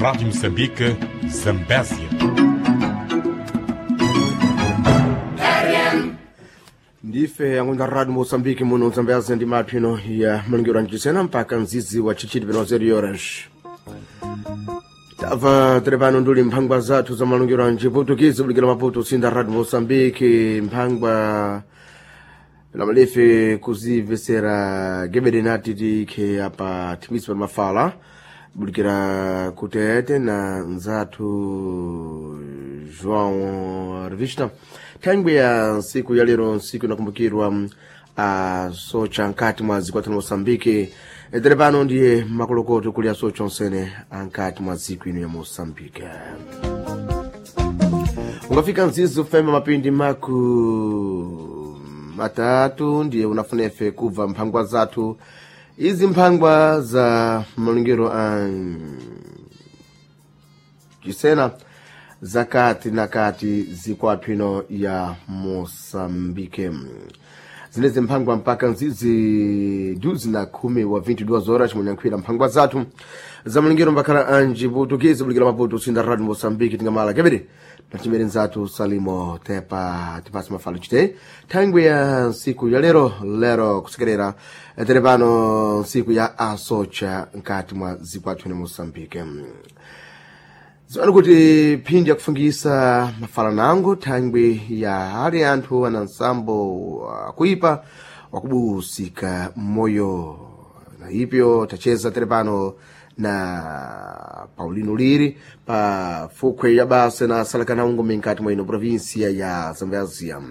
Rádio Moçambique, Zambésia. Ndife yangunda Radio Moçambique muno Zambésia ndi maphino ya malingiro ancisena mpaka mzizi wa chichiti peno 0 horas. Tabva tiri pano nduli mphangwa zathu za malungiro a mchiputukizi kulikira Maputo usinda Radio Moçambique mphangwa lamalefe kuzimvesera gebede nati tikhe apa thimisi pa mafala bulikira kutete na nzathu João Revista. Thangwi ya nsiku ya lero, nsiku inakumbukirwa a socha nkati mwa dziko lathu la Moçambique. Tere pano ndiye makolokoto kuli asocha onsene ankati mwa dziko ino ya Moçambique. Ungafika mzizi ufema mapindi maku matatu ndiye unafuna ife kubva mphangwa zathu izi, mphangwa za malungiro a chisena zakati na kati zikwathu ino ya Moçambique, zinezi mphangwa mpaka nzizi duzi na khumi wa 22 horas munyankhwira mphangwa zathu za malingiro mbakhala anji putukizi bulikira Maputo usinda Radio Moçambique. Tingamala kebere natimere nzathu Salimo Tepa tipasi mafalo chite thangwi ya nsiku ya lero lero kusekerera tere pano nsiku ya asocha nkati mwa zikwathu ne Moçambique. Ziwani kuti phindi yakufungisa mafala nango thangwi ya ali anthu ana nsambo wakuipa wakubusika moyo na ipyo tacheza tere pano na Paulino Liri pa fukhwe ya basa na Salakanaungo minkati mwa ino provinsia ya Zambezia.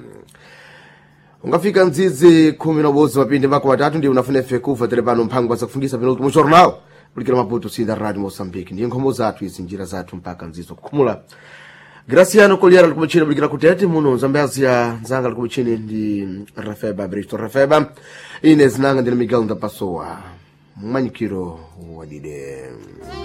Ungafika mdzidzi 11 mapindi mako matatu ndi unafuna ife kuva tere pano mphangwa zakufungisa penultimo jornal kulikira Maputo sinda Radio Moçambique. Ndiye nkhomo zathu izi, njira zathu mpaka mzizo kukhumula. Graciano Koliera likumichini bulikira kutete muno Zambezia, nzanga likumichini ndi Rafeba Bristo Rafeba, ine zinanga ndine Miguel Ndapasowa mwanyikiro wadide.